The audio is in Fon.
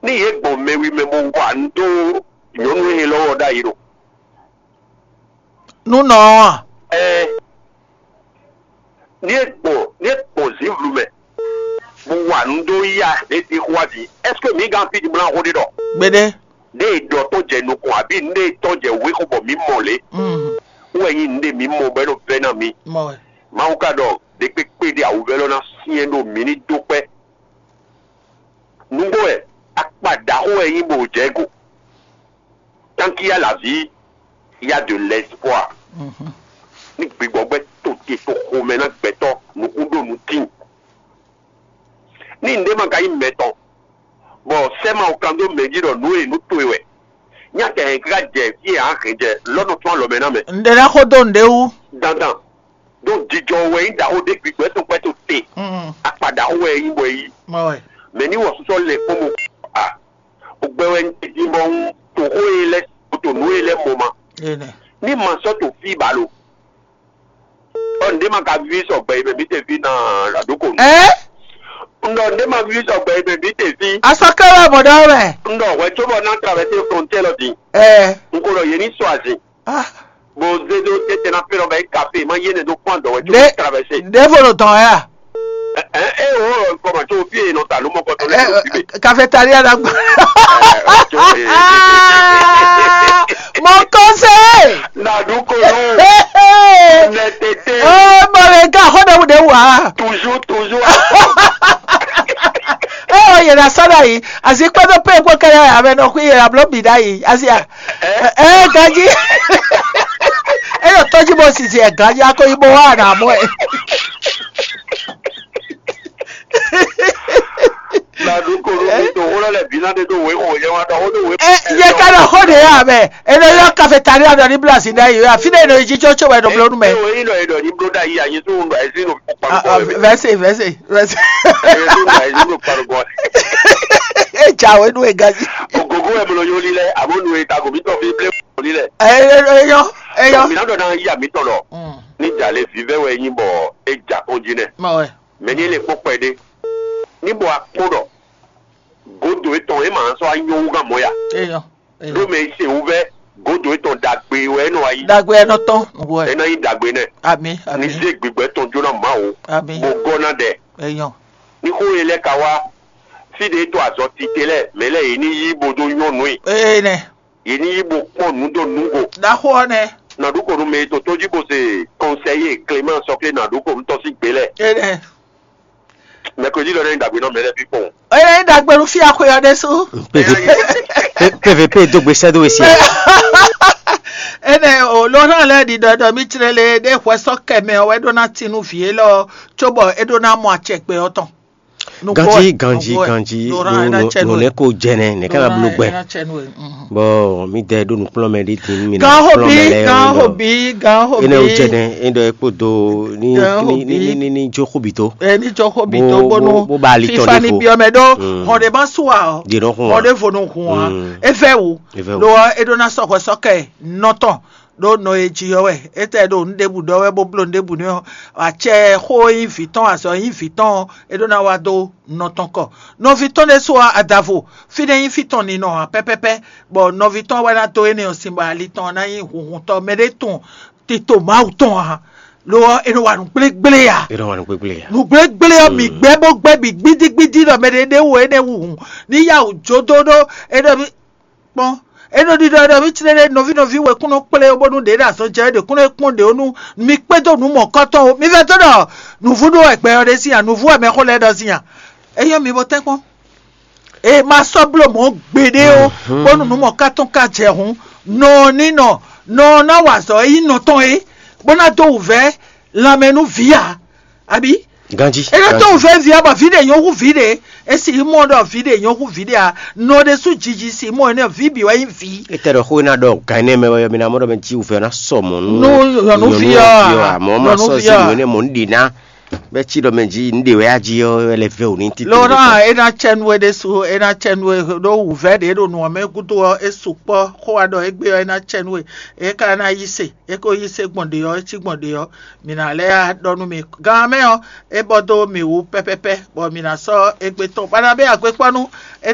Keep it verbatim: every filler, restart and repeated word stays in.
Ní yě gbɔn mɛwi mɛ bó wa nǔ dó nyɔ̌nu élɔ́ ɔ́ ɖ'ayǐ ɖo. Nú nɔ ɔ́ a? Ɛɛ, ní é gbɔn ní é gbɔn zǐnvlu mɛ bó wa nǔ dó yá lě din xó wá din, ɛ́seke mǐ gán fí din bó ná xó ɖé ɖɔ Gbeɖé. Nɖé e ɖɔ tɔn jɛ nukɔn abǐ nɖé e tɔn jɛ wěxo bɔ mǐ mɔ lě? Mm, Wú wɛ nyí nɖé mǐ mɔ bɔ é nɔ vɛ́ ná mǐ. mɔ wɛ. Mawu ka ɖɔ ɖe kpékpé ɖé awǔvɛ́lɔ́ ná syɛ́n ɖó mǐ ní dó kpɛ́. Nǔgbó wɛ akpa ɖaxó wɛ nyí bɔ jɛ go. Tant qu'il y a la vie, il y a de l'espoir. Mhm. Ní gbigbɔgbɛ́ to te to xomɛ ná gbɛtɔ́ nukún ɖó nukín. Ní nǔɖé ma ka nyí mɛ tɔn, bɔ sɛ́ ma kan dó mɛ jí ɖɔ nǔ e nǔ towe wɛ, nyí akɛ hɛn káká jɛ fí e a hɛn jɛ lɔ́ nɔ tún alɔ mɛ ná mɛ. N ɖe ná xó dó nǔɖé wú. Dandan ɖó jijɔ wɛ nyí ɖaxó ɖé gbigbɔ tɔn kpɛ to te. Mm, Akpa ɖaxó wɛ nyí bɔ é yí. mɔ wɛ. Mɛ ní wɔ susɔ lɛ kpɔ́n mo a, o gbɛ wɛ nyí dín bɔ ń to xó e lɛ to nǔ e lɛ mɔ ma. Enɛ. Ní ma sɔ́ to fí ba lo. Ɔ ǹdé ma ka ví sɔ gbɛ yi mɛ mǐ te fí na aɖókò nu. Ɛ? Ŋɖɔ ǹdé ma ví sɔ gbɛ yi mɛ mǐ te fí. Asɔkɛwɛ mɔdɔ wɛ. Ŋɖɔ hwɛ tso bɔ ná traverser frontière lɔ din. Ɛ. N ko ɖɔ yě ní sɔ azin. Ah. Bó zé dó tete ná fé lɔ bɛ yi kafe ma yé ne dó kpɔn dɔ wɛ tso Ɖe- traverser. Ɖevo ɖo dɔn ya. Ɛ ɛ o kɔmɔ tso fi e nɔ ta ló mɔ kɔtɔ lɛ ló fi be. Ɛ, cafétéria la gbɔ. Ɛ ɛ tso ee. Mon conseiller. Naɖu konu. Nɛ tete. Oh, mɔ le ga xɔ ɖe wu ɖe wa. Toujours toujours. Ɛ o yɛrɛ sɔ ɖe yi. Azi kpɛdɔ pe kpɔ kɛlɛ ya mɛ nɔ kui yɛrɛ blo bi ɖe yi. Azi a. Ɛ ganji. Ɛ yɔ tɔji bɔ sisi ɛ ganji ako yi bɔ wa na mɔ ɛ. Naɖu konu mi to wolo lɛ bi na de do we o yɛ wa dɔ o do we. Ɛ yɛ ka ɖo xɔ ɖe ya mɛ. Ɛ nɔ yɔ cafétéria dɔ ni bla si ɖe yi. Afi ɖe nɔ yi jijɔ tso wɛ nɔ blo nu mɛ. O yi nɔ yi dɔ ni blo da yi anyi to ŋdɔ esi no kpakpɔ. Vɛsɛ vɛsɛ vɛsɛ. Esi no esi no kpakpɔ. Ɛ ja wɛ nu ɛ ganji. Ogogo wɛ mlɔ yoli lɛ abo nu eta gomitɔ fi ble yoli lɛ. Eyɔ eyɔ. Mina dɔ na yi amitɔ lɔ. Ni jalè vivɛ wɛ nyi bɔ e ja kɔn jí nɛ. Ma wɛ. Mɛ ni le kpɔkpɔ ɖe. Ni bɔ akpɔ dɔ. Godo etɔn e ma sɔ anyɔ wu gan mɔ ya. Eyɔ. Ɖó mɛ se wu vɛ godo etɔn dagbe wɛ enɔ ayi. Dagbe ɛnɔ tɔn wɛ. Ena yi dagbe nɛ. Ami Ni ami se gbigbɛ tɔn jona Mawu. Ami. Bo gɔ na dɛ. Eyɔ. Ni xo ye lɛ ka wa. Fi de to azɔ tite lɛ mɛ lɛ yi ni yi bo do nyɔnu yi. Ee nɛ. Yi ni yi bo kpɔn nu do nugo. Ɖaxo ɔ nɛ. Naɖu ko nu mɛ to to ji bo se kɔnsɛyi Clément sɔkle naɖu ko nu tɔsi gbe lɛ. Ee nɛ. Mɛkodi lɔ ne dagbe nɔ mɛ lɛ fi kpɔn. Eye ɖagbe nu fi axwe ɔ ɖe su. P V P dó gbe sɛ́ dó we sia. Ene o lɔ hã lɛ ɖi ɖɔ ɖɔ mi tle le ɖe hwɛ sɔ kɛ mɛ ɔ wɛ ɖo na ti nu vi élɔ tso bɔ e ɖo na mɔ acɛ gbe ɔ tɔn. Ganji ganji ganji no ne ko jɛ nɛ ne kana blo gbɛ. Bɔn mi dɛ ɖo nukplɔn mɛ ɖi tin mi na Gan kplɔn hobi mɛ lɛ gan yɔ hobi gan hobi. Ene o jɛ nɛ ene ɖɔ ekpo do ni Gan ni ni hobi. Ni ni jo xobi to. Eni jɔ hobi Bo- to bonu bo- bo ba ali tɔn fifa ɖe ni ko. Biɔ mɛ ɖo Mm. hɔn ɖe ma su wa ɔ. Ɖe nɔ xun wa. Hɔn ɖe vo nɔ hɔn wa. Mm. Evɛ wu. Evɛ wu. Ɖo ɔ e ɖo na sɔxɔ sɔkɛ nɔtɔn ɖo nɔ e dzi yɔ wɛ etɛ ɖo nu ɖebu ɖɔ wɛ bo blo nu ɖebu nɛ ɔ atsɛ xo yi vi tɔn azɔ yi vi tɔn e ɖo na wa do nɔtɔn kɔ. Nɔvi tɔn ɖe so adavo fi ɖe yi fi tɔn ni nɔ hã pɛpɛpɛ bɔ nɔvi tɔn wɛ na do ene ɔ sin bɔ ali tɔn na yi hunhun tɔ mɛ ɖe tɔn tito mawu tɔn hã. Lo ɔ e nɔ wa nu gblégblé ya. E ɖo wa nu gbegble ya. Nugblégblé ɔ mi gbɛ bó gbɛ mi gbidigbidi ɖɔ mɛ ɖe ɖe wo ene wu hun ni ya wò jodo ɖo eɖɔ mi kpɔn eɖɔ ɖiɖɔ eɖɔ mi tle ɖe nɔvi nɔvi wɛ kúnɔ kplé wo bónú ɖe ɖe azɔn jɛ ɖe kúnɔ kpɔn ɖe wonu mi kpé dó nu mɔ kɔtɔn wo mi vɛ tó ɖɔ nuvu ɖo ɛgbɛ ɔ ɖe si ya nuvu ɛmɛ xó lɛ ɖɔ si ya eyɔ mi bó tɛ kpɔn e ma sɔ blo mɔ gbeɖe o bónú nu mɔ kɔtɔn ka jɛ hun nɔ ni nɔ nɔ na wa azɔ eyi nɔ tɔn e bó ná dó wù vɛ lanmɛ nú vǐ ya. Abi Ganji. e ɖo tó vɛ via bɔ vi ɖe nyɔ hu vi ɖe esi mɔ ɖɔ vi ɖe nyɔ hu vi ɖe a nɔ ɖe su dzidzi si mɔ ne vi bi wɛ nyi vi. Ete ɖɔ xo na ɖɔ gan ne mɛ wɛ mi na mɔ ɖɔ mɛ ji wufɛ na sɔ mɔ nu. Nu nyɔnuvi ɔ a? Mɔ ma sɔ Nyɔnuvi si ɔ a? Mɔ ne mɔ nu ɖi na. Bɛ tsi ɖɔ mɛ ji nu ɖe wɛ aji ɔ wɛ lɛ vɛ o ni titi. Lora ena tsɛ nue ɖe su ena tsɛ nue ɖo wuvɛ ɖe ɖo nuɔ mɛ gudo ɔ esu kpɔ xo wa ɖɔ egbe ɔ ena tsɛ nue eka na yi se eko yi se gbɔn ɖe ɔ etsi gbɔn ɖe ɔ mina lɛ ya ɖɔ nu mi gan mɛ ɔ ebɔ do mi wu pɛpɛpɛ bɔ mina sɔ egbe tɔn bana bɛ agbe kpɔ nu e